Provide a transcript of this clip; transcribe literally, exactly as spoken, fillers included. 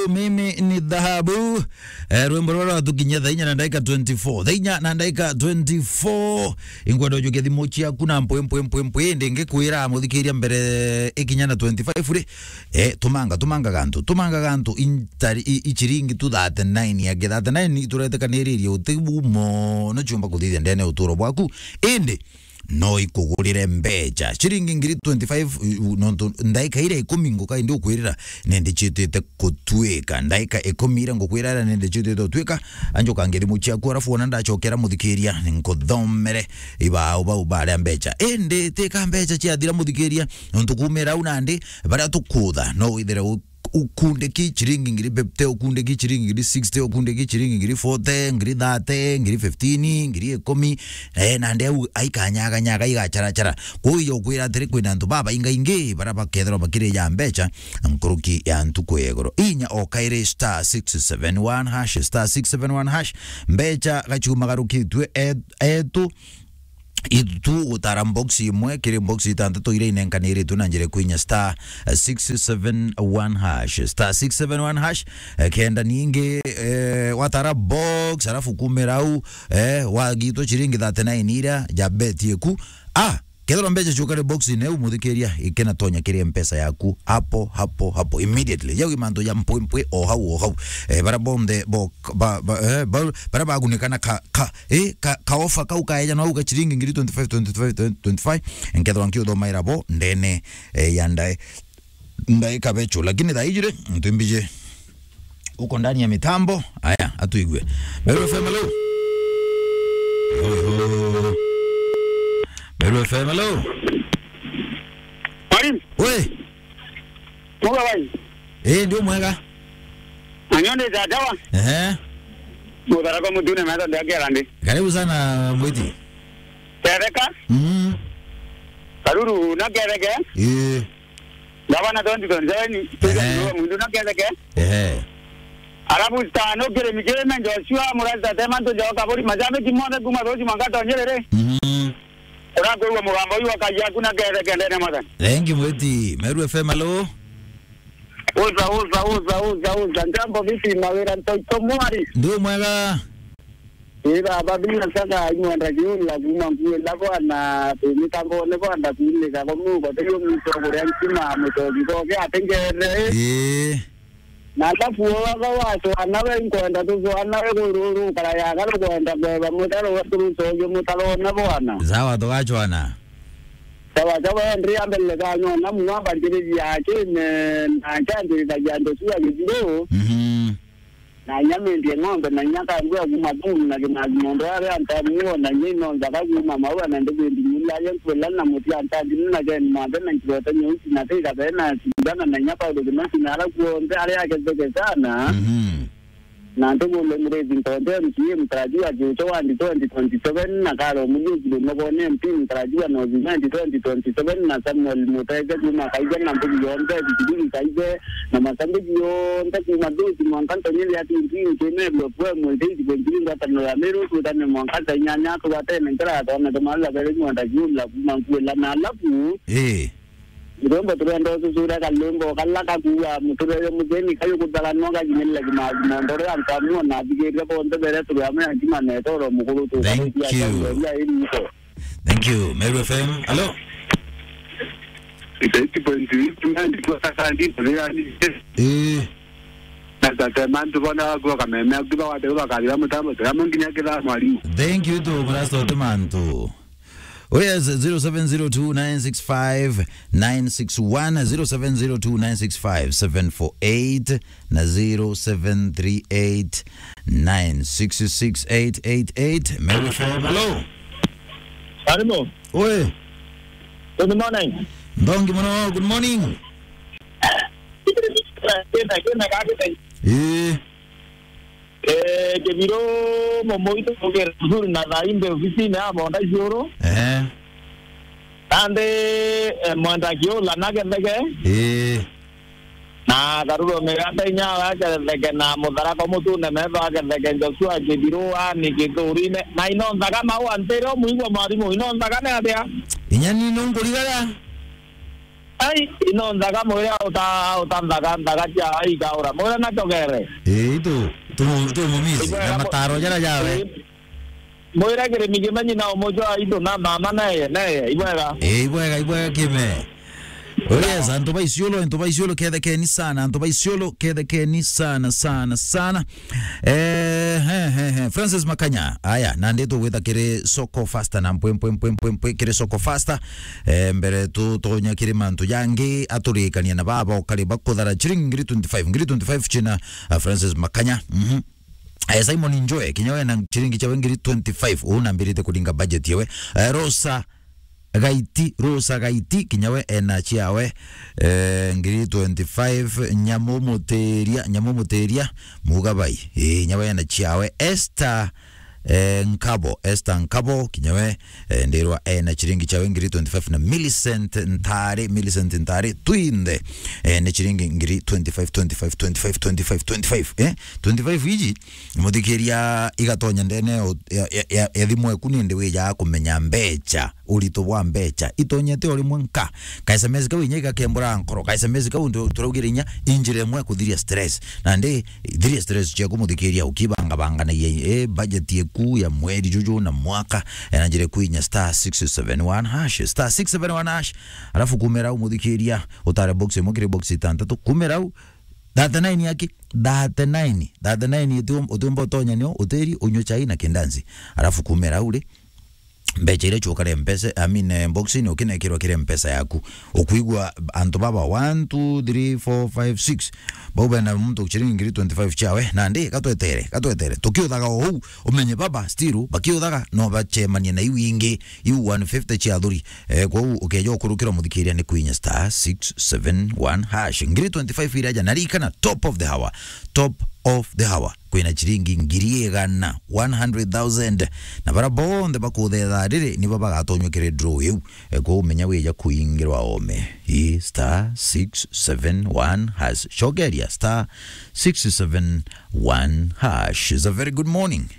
Mimi ni dhahabu. Eh, rwimbo rwa rwatukinyia thaa inya na ndagika twenty-four. Thaa inya na ndagika twenty-four. Ingwenda ujukia thimu ciaku na mpwi, mpwi, mpwi, mpwi, ndingikwira muthikiria mbere ikinya na twenty-five ri. Eh, tumanga, tumanga gantu, tumanga gantu intari, i, i ciringi tu thirty-nine ya thirty-nine ituretekaniririe utibu mono ciumba kuthithia ndene uturo bwaku. Indi no ikugurire mbecha. Ciringi ngiri twenty-five, u-, u-, nontu ndaika iria ikumi nguka indi ukwirira, nende ciitite kutuika. Ndaika ikumi iria ngukwira iria nende ciitite gutuika, anjuka ngithimu ciaku, arafu wona ndacokera muthikiria, nkuthomere ibao bau baria mbecha. Indi tika mbecha ciathira muthikiria, nontu kumira au nandi, baria tukutha, no withire u-, ukundiki ciringi ngiri fifty, ukundiki ciringi ngiri sixty, ukundiki ciringi ngiri forty, ngiri thirty, ngiri fifteen, ngiri ikumi, eh, nandi au aikanyaganyaga, igacarachara. Kwou ijo ukwira atiri, kwina antu babaingaingi baria bakethirwa bakirija mbecha nkuruki ya ntuku ya iguru. Inya o kairi star six seven one hash, star six seven one hash, mbecha gachuma garukitue e-, etu itu gutara box imwe kiri box itantatu iria inenkaniritu na njira kwinya star six seven one hash, star six seven one hash, eh, kenda ningi, eh, watara box, alafu kumira au, eh, wagitwa ciringi thirty-nine iria ja bet yeku. Ah, kethirwa mbecha ciukare box-ini iu, muthikiria, ikenatonya kiri mpesa yaku hapo, hapo, hapo, immediately. Jau i mantu ja mpwi mpwi o hau, o hau. Eh, bara bonthe bo, ba, ba, eh, ba, bara bagunikana ka, ka, eh, ka, ka offer kau kaeja no au ka ciringi ngiri twenty-five, twenty-five, twenty-five. Nkethirwa nkiuthomaira bo ndene, eh, ya ndae, ndae kabecho. Lakini thaa iji ri, ntimbije uko ndani ya mitambo. Aya, atuigue. Meru F M, hello. Yo, yo. Meru F M, hello. Mwalimu. We. Muga bai. Eh, ndio mwega. Anyonde za dawa. Ehe. Mutharako mutune metho ndio akia ndi. Karibu sana, Mwiti. Tereka. Mm. Karuru na kereke. Eh. Gavana twenty twenty-seven, Ehe. Tuge Mwindu na kereke. Ehe. Arabu star no kire mikire men Joshua, Murasa Tema, Nto Joka, Bori, Majambe, Kimone, Kuma, Rosi, Mwangato, Nyerere. Mm. Urakwigua mugambo uyu wa kaji yaku na kethe kendene mwathani. Thank you, Mwiti. Meru F M, hello. Uza, uza, uza, uza, uza. Njambo vipi, mawira ntoito mwari? Ndio mwega. Ii baba, binya saka imwenda kiula kuma nkuila bwana, mitambone bwana kuilika kwa mugo, teyo mito kuria ntima mutogi koke atengere. Ii. Na alafu waga wacwana we nkwenda tucwana we kururu kara yaga rukwenda kweba mutaro we turucoge mutaro na bwana. Sawa, tugacwana. Sawa, sawa, ndria mbele kanyona mwa mbarikiria kime na njandirithagia ndetu ya githiru. Mhm. Na inya mindie ng'ombe, na inya kambua kuma thuru na kinathi mundu aria antamuo, na inya ino nthaka kuma maua na ndibindi nyuria aria nkwila na muti antathi na geni manthe na nkirote nyeusi na tika bena sindana na inya Paulo Kimasi na ara kuonthe aria aketheke sana. Mhm. Na ntugulo murezi ntonde M C A mtarajiwa Jucho wandi twenty twenty-seven na Karo Mujuki Lumogone M P mtarajiwa North Imenti twenty twenty-seven na Samuel Muteke kuma Kaija na mbugi yonthe Bikibiki Kaije na masambiki yonthe kuma Nduti mwanka Ntonyeli ati Ntini Kemebio kwe mwitei Kibonjiri ngwataniro ya Meru tutane mwanka Ntainyanya tugatene nkira ya twana tumala bere mwenda kiula kuma nkuela na alafu. Ii. Rwimbo turenda ucucura kalwimbo kala kakuuga muturere mugeni kayu kuthaganwa gakinyirira kimathimo ndoro ya nkamuo na athikirire bonthe bere turi amwe ya nkima na etoro mukuru tu. Thank you. Thank you. Meru F M. Hello. Eighty point eight, nandi kwa sasa ndi, ndi, ndi. Eh. Na tata mantu bona kwa kameme, akiba wate kwa kalira mutambo, tata munginya kila mwalimu. Thank you to Pastor Tumantu. Oh yes, zero seven zero two nine six five nine six one, zero seven zero two nine six five seven four eight, na zero seven three eight nine six six eight eight eight. Meru F M. Hello. Hello. Oi. Good morning. Ndongi muno, good morning. Kena, kena, kena. Eh. Eh, Kibiro, Momoito, Kibiro, na thaimbe ofisini ya Bonda Ciuru. Eh. Nandi, eh, Mwenda Kiula na Gethege. Eh. Na Karuro Miganda inya wa Gethege na Mutharako Mutune metho a Gethege Joshua Kibiro ani Githurine. Na ino nthaga mau antire umuigua mwarimu, ino nthaga ni atia? Inya ni nungurigaga. Ai, ino nthaga mwire auta, auta nthaga, nthaga cia ai kaura. Mwire na chogere. Ii, tu, tu, tu mumisi, na mataro jara jawe. Mwire kirimi kimenyi na umojo aitu na mama naye, naye, ibwega. Ii, ibwega, ibwega kime. Oh yes, antu ba Isiolo, antu ba Isiolo kethekeni sana, antu ba Isiolo kethekeni sana, sana, sana. Eh, he, he, he. Francis Makanya, aya, nandi tugwita kiri Soko Faster na mpwe, mpwe, mpwe, mpwe, mpwe, kiri Soko Faster. Eh, mbere tu, tunya kiri mantu jangi, aturikania na baba ukari bakuthara chiringi ngiri twenty-five, ngiri twenty-five china, ah, Francis Makanya. Mhm. Eh, Simon Njoe, kinya we na chiringi chawe ngiri twenty-five, uu nambirite kuringa budget yawe. Eh, Rosa Gaiti, Rosa Gaiti, kinya we ena chiawe, eh, ngiri twenty-five, Nyamu Mutiria, Nyamu Mutiria, Mugabai, eh, kinya we ena chiawe. Esther, eh, Nkabo, Esther Nkabo, kinya we, eh, ndirwa ena chiringi chawe ngiri twenty-five, na Millicent Ntare, Millicent Ntare, twinthe, eh, ni chiringi ngiri twenty-five, twenty-five, twenty-five, twenty-five, twenty-five, eh, twenty-five iji, muthikiria igatonya ndene ya, ya, ya, ya thimu eku nindi wija kumenya mbecha. Urito bwa mbecha itonyete o rimwe nka. Ka S M S kau inya igakembura nkoro. Ka S M S kau ndio turaugire inya injira imwe ya kuthiria stress. Nandi thiria stress ciaku muthikiria ukibangabanganagia, eh, budget yeku ya mweri juju na mwaka, eh, na njira iku inya star six seven one hash, star six seven one hash. Alafu kumira au muthikiria utare box imwe kiri box itantatu. Kumira au thirty-nine yaki, thirty-nine, thirty-nine uti-, utiumba utonya nio utiri unywe chai na kindanzi. Alafu kumira au ri, mbecha iria ciukare mpesa, I mean, eh, box-ini ukinekirwa kiri mpesa yaku. Ukwigua antu baba one, two, three, four, five, six. Bau bena muntu chiringi ngiri twenty-five chiawe. Nandi, gatwetere, gatwetere. Tukiuthaga o huu, umenye baba, still, bakiuthaga, no bachemanie na iu ingi, iu one fifty chia athuri. Eh, kwou ukeja ukurukira muthikiria ni kwinya star six seven one hash. Ngiri twenty-five iraja, na ririkana, top of the hour. Top of the hour. Kwina chiringi ngiri igana, one hundred thousand. Na bara bonthe bakuthetha riri, nibo bagatonywa kiri draw iu. E, kwou menya wija kuingirwa ome. I star six seven one hash. Cogeria star six seven one hash. It's a very good morning.